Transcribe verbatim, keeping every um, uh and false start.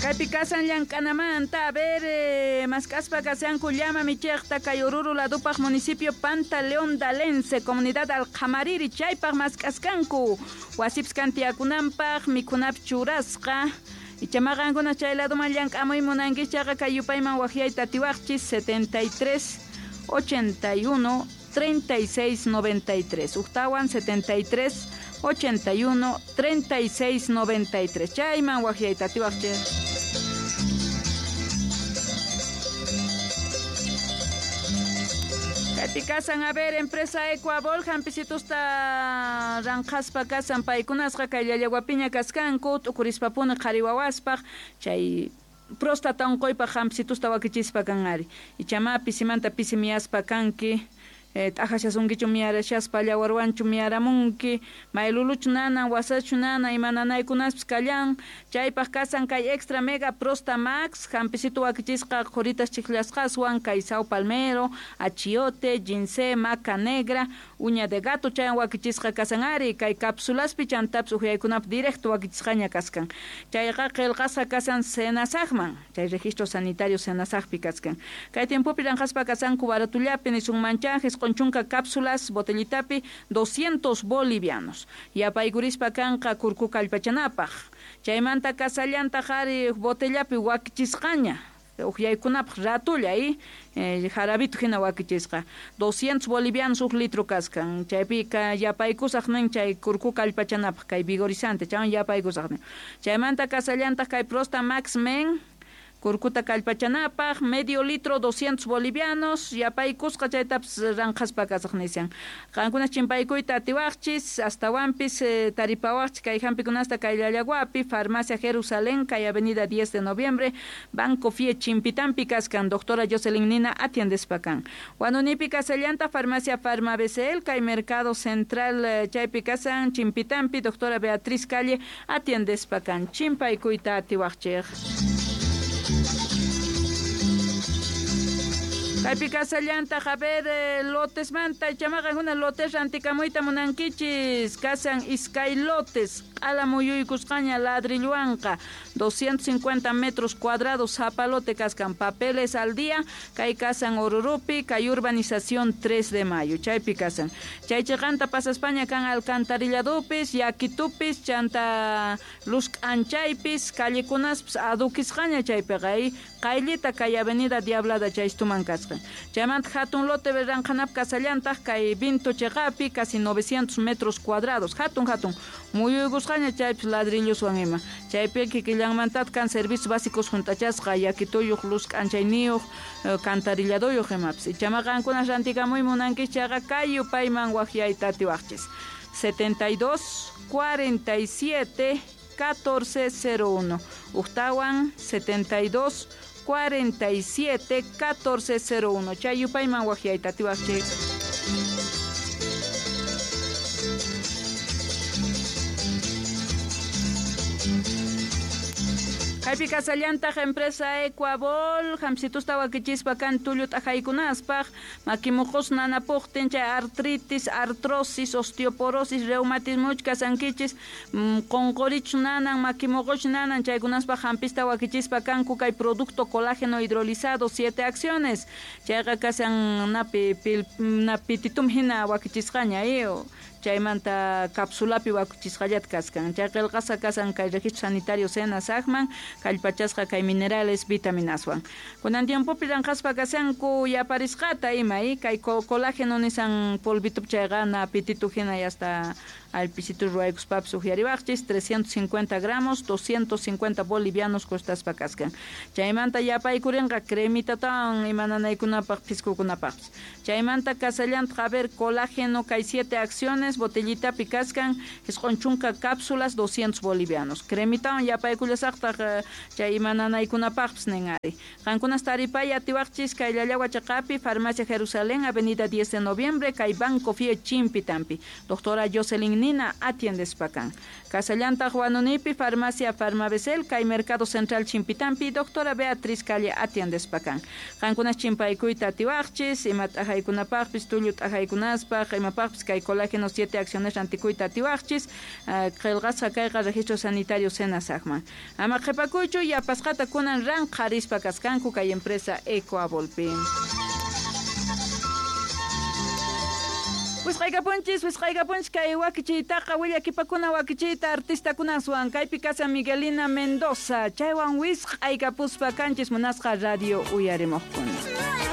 Kaypi kasan llank'anamanta, a ver, eh, mask'aspa kasanku llama michiqta kay Oruro ladupaq municipio Pantaleón Dalense, comunidad Alqamariri, chaypaq mask'askanku wasipis kantiyakunanpaq mikhunapis churasqa. Ichamaqankuna chay laduman llank'amuy munankichis chayqa kay yupayman waqyayta atiwaqchis setenta y tres ochenta y uno treinta y seis noventa y tres. Ujtawan setenta y tres ochenta y uno treinta y seis noventa y tres. Chayman waqyayta atiwaqchis. Kaypi kasan, a ver, empresa Ecuabol, hampisitusta ranqhaspa kasan paykunasqa kay llallawapiña kaskanku, t'ukurispapuni qhari wawaspaq, chay próstata unquypaq hampisitusta wakichispa kan ari. Ichama pisimanta pisi miyaspa kanki, eh, t'ajashasunkichu miyarashaspa llawarwanchu miyaramunki, mayluluchu nanan, wasachu nana, ima nanaykunaspis kallan, chaypaq kasan kay Extra Mega Prosta Max, hampisitu wakichisqa qhuritas chiklasqaswan, kay sao palmero, achiote, ginseng, maca negra, uña de gato chayan wakichisqa kasan ari, kay cápsulaspi chantapis uhyaykunap directo wakichisqaña kaskan. Chayqa qillqasqa kasan Senasajman, chay registro sanitario Senasajpi kaskan. Kay tiempopi ranqaspa kasanku baratullapi nisunmancha, chunka cápsulas botellitapi doscientos bolivianos. Yapaykurispa kanqa kurku kallpachanapaq. Chaymanta kasallantaq ari botellapi wakichisqaña. Uhyaykunapaq ratulla y eh, jarabito hina wakichisqa. doscientos bolivianos huk litro kaskan. Chaypika yapaykusaq nin chay kurku kallpachanapaq kay vigorizante chaywan yapaykusaq nin. Chaymanta kasallantaq kay Prosta Max Men kurkuta kallpachanapaq medio litro doscientos bolivianos yapaykusqa chaytapis ranqhaspa kasaq nishan. Qankuna chimpaykuyta atiwaqchis astawanpis eh, taripawaqchis kay hampikunasta kay Llallawapi, Farmacia Jerusalén, kay Avenida diez de Noviembre, Banco F I E Chimpitampi kaskan, doctora Jocelyn Nina atiendespa kan. Wanunipi kasallanta Farmacia Farma B C L, kay Mercado Central eh, chaypi kasan Chimpitampi, doctora Beatriz Calle atiendespa kan. Chimpaykuyta atiwaqchis. Kaypi kasallantaq, a ver, eh, lotesmanta, ichamaqankuna lotes rantikamuyta munankichis, kasan iskay lotes, q'ala muyuykusqaña ladrilluwanqa, doscientos cincuenta metros cuadrados, zapalote kaskan, papeles al día, kay kasan Orurupi, kay urbanización tres de mayo, chaypi kasan. Chay chiqanta pasaspaña kan alcantarilladupis, yakitupis, chanta luz k'anchaypis, callekunaspis adukisqaña chaypiqa, y qayllita kay avenida Diablada chaystuman kasqa. Chaymanta hatun lote ranqhanap kasallantaq kay Vinto chiqapi, casi novecientos metros cuadrados, hatun hatun muyuykusqaña chaypis ladrilloswan ima. Chaypi kikillanmantataq kan servicios básicos juntachasqa, yakituyuq, luz k'anchayniyuq, eh, cantarilladoyuq imapis. Ichama qankuna rantikamuy munankichis chayqa kay yupayman waqyayta atiwaqchis. setenta y dos, cuarenta y siete, catorce cero uno. Ujtawan setenta y dos, cuarenta y siete, catorce cero uno. Chay yupayman waqyayta atiwaqchis. Kaypi kasallantaq empresa Ecuabol, hamsitusta wakichispa kan tullu t'ajaykunaspaq, makimuqus nanapuqtin chay artritis, artrosis, osteoporosis, reumatismuch kasankichis, mm, qunqurichu nanan, makimuquch nanan, chaykunaspaq hampista wakichispa kanku kay producto colágeno hidrolizado, siete acciones, chayqa kasan napi pil, napititum hina wakichisqaña, eh, chaymanta cápsulapi wakuchisqallat kaskan. Chay qillqasqa kasan kay registro sanitario Senasajman, kallpachasqa kay minerales vitaminaswan. Kunan tiempopi ranqhaspa kasanku yaparisqata ima, eh, kay colágeno nisan polvitup chayqa na pititu hina y hasta alpisitu ruwaykuspapis uhyariwaqchis, trescientos cincuenta gramos, doscientos cincuenta bolivianos costaspa kaskan. Chaymanta yapaykurinqa cremitatawan ima nanaykunapaq piskukunapaqpis. Chaymanta kasallantaq, a ver, colágeno kay siete acciones, botellitapi kaskan, isqun chunka cápsulas, doscientos bolivianos. Cremitawan yapaykullasaqtaq, eh, chay ima nanaykunapaqpis nin ari. Qankunas taripay atiwaqchis kay Llallawa chiqapi, Farmacia Jerusalén, Avenida diez de Noviembre, kay Banco F I E Chimpitampi. Doctora Jocelyn Nina atiendespa kan. Kasallantaq Wanunipi, Farmacia Farmabesel, kay Mercado Central Chimpitampi, doctora Beatriz Calle atiendespa kan. Qankunas chimpaykuyta atiwaqchis, ima t'ajaykunapaqpis, tullu t'ajaykunaspaq, imapaqpis kay colágeno siete acciones rantikuyta atiwaqchis. Qillqasqa kayqa registro sanitario SENASACman. Ama qhipakuychu, yapasqata kunan ranqharispa kaskanku kay empresa Ecoabolpi. Wisqaykapunchis, wisqaykapunchis kay wakichiytaqa willakipakuna wakichiyta artistakunaswan kaypi kasa Miguelina Mendoza chaywan wisqaykapuspa kanchis munasqa radio uyarimuqkuna.